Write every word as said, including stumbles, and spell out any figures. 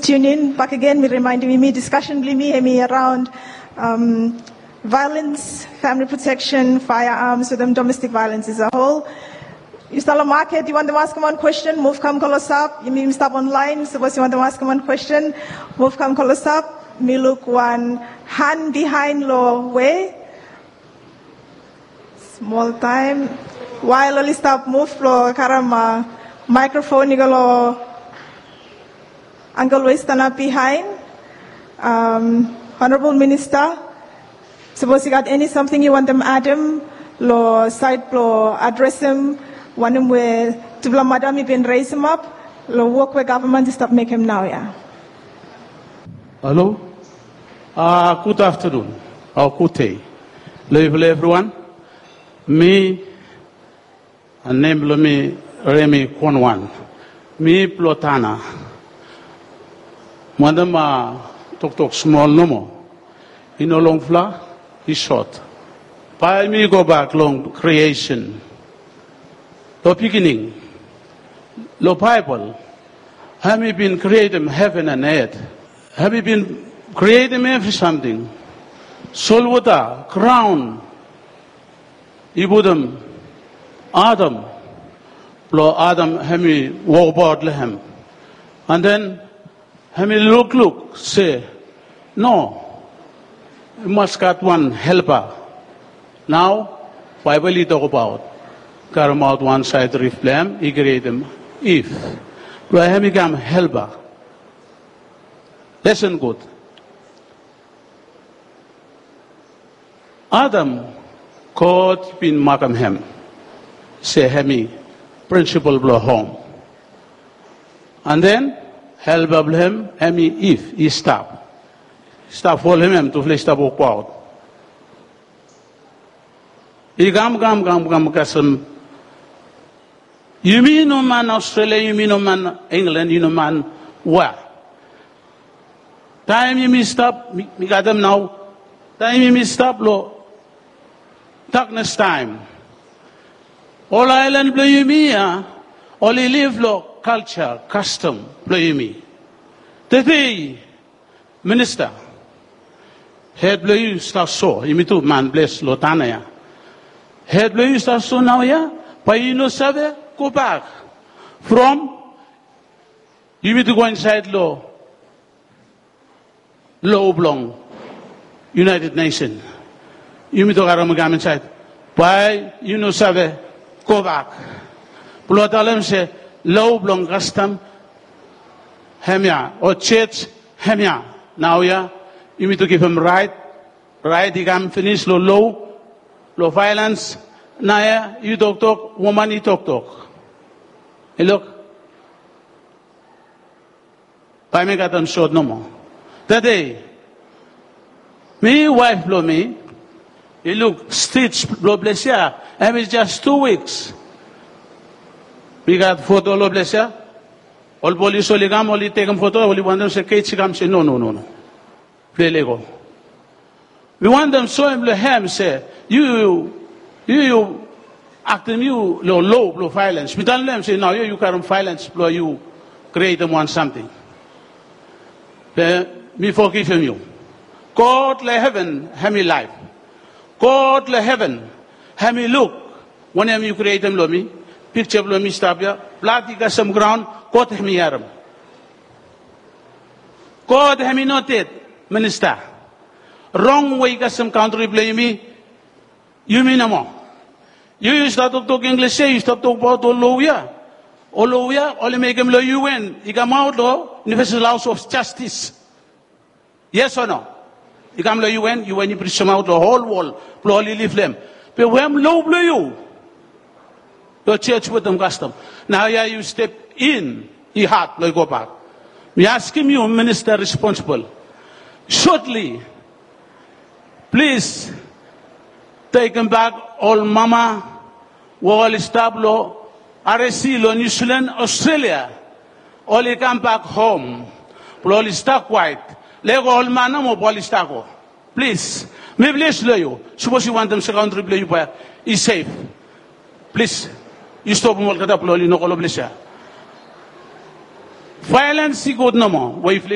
Tune in bakegen, mi rimaendim yumi diskasen blong yumi hemi araon violens, famili proteksen, faearms wetem domestik violens as a hol. Yu stap long maket, yu wantem askem wan kwesten, muv kam klosap. Yumi stap onlaen, sapos yu wantem askem wan kwesten, muv kam klosap. Mi luk wan han bihaen long we. Smol taem. Wael oli stap muv blong karem maekrofon i go long angkel we i stanap bihaen. Honorabol Minista, sapos yu gat eni samting yu wantem adem long saed blong adresem wanem we tufala madam i bin resemap long wok we gavman i stap mekem naoia. Halo. Gud aftanun o gud dei long yufala evriwan. Mi, nem blong mi Remi Konwan. Mi blong Tana. Wantem toktok smol nomo. I no longfala, i sot. Bae mi gobak long kriesen. Long beginning, long Baebol, hem i bin krietem heven and earth. Hem i bin krietem evri samting. Solwota, graon, i putum Adam. Blong Adam hem i wokbaot long hem. And then hem i lukluk se, no, i mas gat wan helpa. Nao Baebol i tokbaot karemaot wan saed rif blong hem, i krietem Iv blong hem i kam helpa. Lesen gud. Adam, God bin makem hem se hem i prinsipol blong hom. And then helpa blong hem hem i Iv, i stap. Stap folem hem, tufala i stap wokbaot. I kam kam kam kam kasem. Yumi no man Australia, yumi no man England, yumi no man wea. Taem yumi stap, mi gat hem nao. Taem yumi stap long daknes taem, ol aelan blong yumi ya oli liv long kalja, kastom blong yumi. Tede, Minista, hed blong yu i stap so, yumi tu man ples long Tana ya. Hed blong yu i stap so naoia, bae yu no save gobak from yumi tu go insaed long lo blong United Nation. Yumi tu karem i kam insaed, bae yu no save gobak. Blong talem se lo blong kastom hemia o jos hemia. Naoia yumi tu givim raet. Raet i kam finis long lo, long vaelens. Naoia yu toktok, woman i toktok. I luk, bae mi katem sot nomo. Tede, mi, waef blong mi, i luk stij blong ples ya, hem i jas tu wiks. Mi gat foto long ples ya. Ol polis oli kam, oli tekem foto, oli wantem se kej i kam se no, no, no, no. Ples i lego. Mi wantem soem long hem se yu, yu, yu aktem yu long lo blong vaelens. Mi talem long hem se naoia yu karem vaelens blong yu krietem wan samting. Be mi fogivim yu. God long heven hem i laef. God long heven hem i luk wanem yu krietem long mi. Pikja blong mi i stap ya, blad i kasem graon, God hem i harem. God hem i no ded, Minista. Rong we i kasem kantri blong yumi, yumi nomo. Yu, yu stap toktok Inglis ya, yu stap tokbaot ol lo ya. Ol lo ya oli mekem long U N i kamaot long Universal House of Justice. Yes o no? I kam long U N, U N i prisemaot long hol wol blong oli liv long hem. Be wetem lo blong yu long jos wetem kastom. Naoia yu step in, i had blong yu gobak. Mi askem yu, minista responsibol, sotli, plis tekembak ol mama we oli stap long R S C long Niu Silan, Australia. Oli kambak hom blong oli stap kwaet. Lego ol man nomo blong oli stap go. Plis, mi plis long yu, sapos yu wantem se kantri blong yu bae i sef, plis, yu stopem olgeta blong oli no go long ples ya. Vaelens i gud nomo we yufala